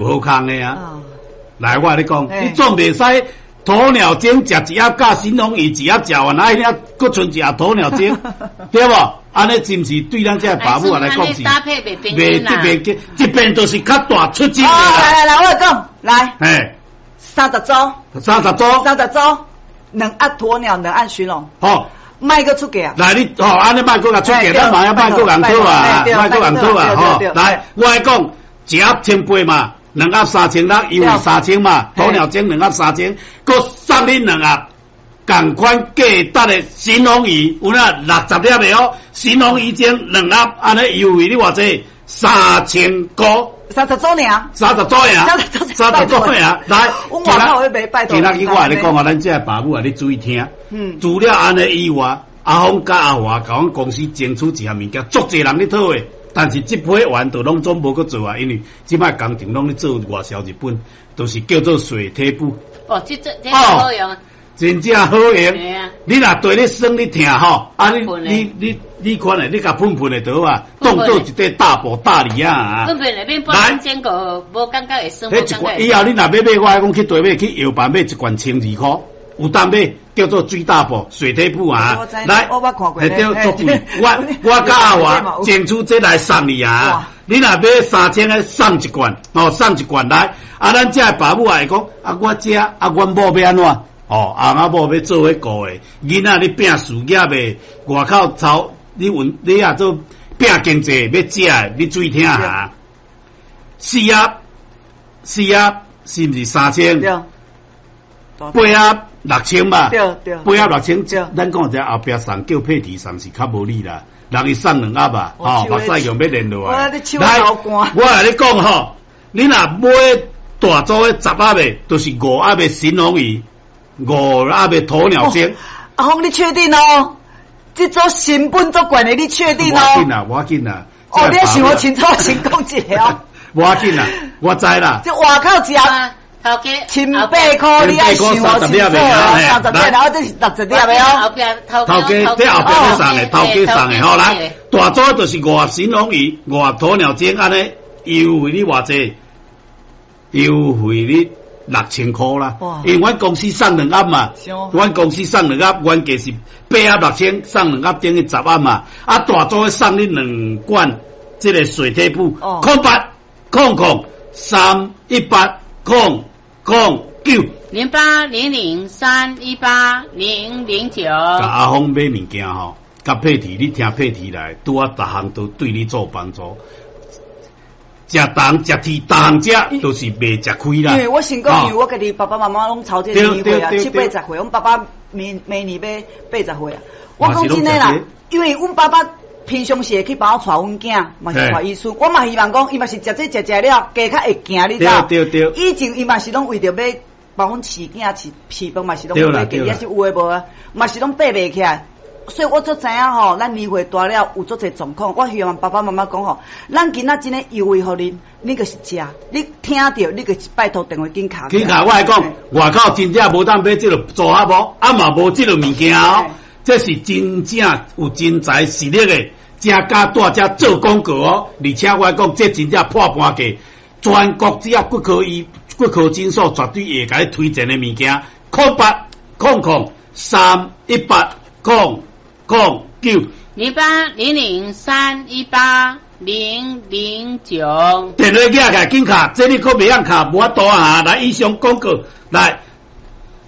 無仝的啊。來，我共你講，你總袂使鴕鳥精食一盒，佮神龍魚一盒食完，啊，遐閣賰一盒鴕鳥精，對無？按呢是毋是對咱這爸母來講是？袂這邊這邊就是較大出汁的啦。來來來，我講來。嘿，三十組。三十組。三十組，兩盒鴕鳥，兩盒尋龍。好。莫閣出價。來你吼，按呢莫閣共出價，咱嘛要莫閣人討啊，莫閣人討啊，吼。來，我來講，一盒千八嘛。兩盒3600，優惠三千嘛，鴕鳥精兩盒三千，閣送你兩盒仝款價值的神龍魚，有影60粒的哦，神龍魚精兩盒，按呢優惠你偌濟？3000箍。三十組爾。三十組爾。三十組爾，來。今仔日我共你講啊，咱這爸母啊，你注意聽。除了按呢以外，阿峰佮阿華共阮公司爭取一項物件，足濟人咧討的。但是這批員就攏總無閣做啊，因為這擺工程攏咧做外銷日本，就是叫做水貼布。哦，這這這好用。真正好用。你若綴咧酸咧疼吼，啊你你你你款的，你共噴噴的就好啊，當做一塊大補大禮啊。噴噴的免半整個無感覺會酸。彼一罐以後你若欲買，我愛講去台買去藥房買一罐千二箍。有當買叫做水大布水體布啊，來，會對足貴。我我佮阿華爭取這來送你啊！你若買三千个送一罐，哦，送一罐來。啊，咱這爸母也會講，啊，我這啊，阮某欲按怎？哦，啊，阮某欲做彼顧的，囡仔咧拚事業的，外口操，你問你若做拚經濟欲食的，你注意聽哈。四盒，四盒是毋是三千？八盒六千嘛，八盒六千，咱講這後壁送叫佩蒂送是較無理啦，人伊送兩盒啊，吼，目屎用欲連落來。來，我共你講吼，你若買大組的十盒的，就是五盒的神龍魚，五盒的鴕鳥精。阿峰，你確定哦？這組成本足懸的，你確定哦？無要緊啦，無要緊啦。哦，你想予清楚，先講一下哦。無要緊啦，我知啦。這外口一盒。頭家千八箍，你愛想予清楚哦，三十粒，然後這是60粒的哦。後壁頭家這後壁欲送的，頭家送的吼來，大組就是五盒神龍魚，五盒鴕鳥精，按呢優惠你偌濟？優惠你6000箍啦，因為阮公司送兩盒嘛，阮公司送兩盒，原價是八盒六千，送兩盒等於十盒嘛。啊，大組送你兩罐這個水體布，0800 318 009 0800318009。共阿峰買物件吼，佮佩蒂，你聽佩蒂來，拄仔逐項都對你做幫助。食重食甜，逐項食都是袂食虧啦。因為我先講，因為我家己爸爸媽媽攏操這年歲啊，七八十歲，阮爸爸明明年欲八十歲啊。我講真的啦，因為阮爸爸平常時會去幫我帶阮囝，嘛是帶伊孫。我嘛希望講，伊嘛是食這食食了，加較會行，你知？以前伊嘛是攏為著欲幫阮飼囝飼飼飯嘛是攏買，也是有的無啊，嘛是攏爬袂起來。所以我足知影吼，咱年歲大了有足濟狀況。我希望爸爸媽媽講吼，咱囡仔真的優惠予恁，你就是食，你聽著，你就是拜託電話緊敲。緊敲，我來講，外口真正無當買這個組合無，啊嘛無這個物件哦，這是真正有真材實力的，正敢蹛遮做廣告哦。而且我來講，這真正破盤價，全國只要骨科醫、骨科診所絕對會共你推薦的物件，0800 318 009 0800318009。電話舉起來緊敲，這你閣袂曉敲，無法度啊！來，以上廣告來。